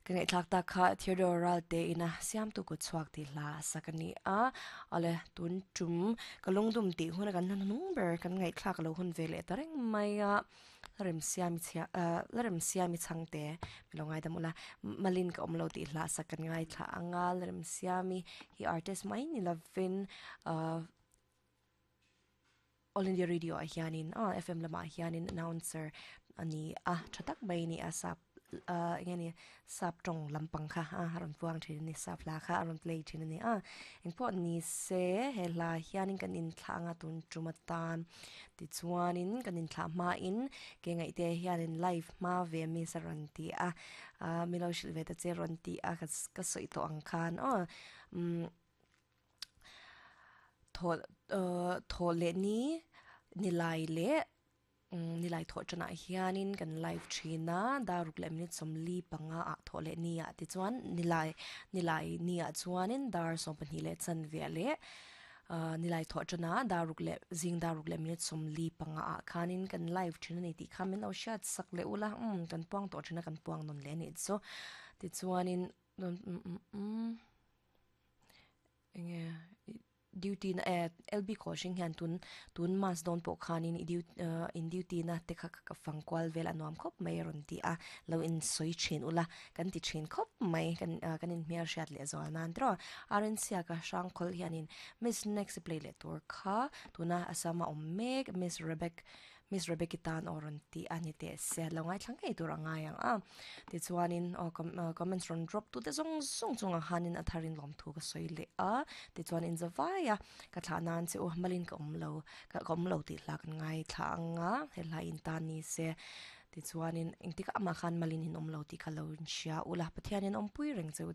Ka ngaihthlak tak kha Theodore Ralte ina siamtu kut chhuak tih hla a sak a ni a, awle tun tum ka lungdum tih huna kan hnahnung ber kan ngaihthlak lo hun ve leh ta reng mai a, la rem siami chhia ah la rem siami chhangte mi lo ngaidam ula malin ka awm lo tih hla a sak kan ngaithla ang a, la rem siami hi artist mai ni lovin ah All India Radio ah hianin aw FM lamah hianin announcer a ni a tha tak mai a ni a sap ah eng nge ni sap tawng lampang kha a rawn puang thin a ni sap hla kha a rawn play thin a ni a engpawh ni se he hla hianin kan inthlah anga tun tum atan tichuanin kan inthlah hmain ke ngaihte hianin live hma ve miss a rawn ti a ah milo hrilh ve ta che rawn ti a ka sawi tawh ang khan aw umm. Thaw thaw leh ni nilai leh nilai thawh tanah hianin kan live thin a daruk leh minute sawmli panga ah thawh leh ni ah tichuan nilai nilai ni ah chuanin dar sawmpahnih leh chanve leh nilai thawh tanah daruk leh zing daruk leh minute sawmli panga ah khanin kan live thin a ni tih kha min lo hriat sak leh ula umm kan puang tawh thin a kan puang nawn leh a nih chu tichuanin Enge duty na eh LB coaching hian tun tun mass dawn pawh khanin i duty in duty na te kha ka fang kual vel a nuam khawp mai a rawn ti a lo in sawi thin ula kan ti thin khawp mai kan kan in hmel hriat leh zual nan tiraw RNC-a ka hrangkhawl hianin miss next play leh tur kha tuna Assam a awm mek miss Rebecca Miss Rebecca tan aw rawn tih a ni teh se, lo ngaithla ngei tur a ngai ang a. Tichuanin aw comments rawn drop tute zawng zawng chungah khanin a tharin lawmthu ka sawi leh a. Tichuan in zavai a, ka thlah nan che u, malin ka awm lo, ka awm lo tih hla kan ngaithla ang a, he hla in tan ni se. Tichuanin engtikah mah khan malin in awm lo tih kha lo inhria ula, Pathianin awmpui reng che u.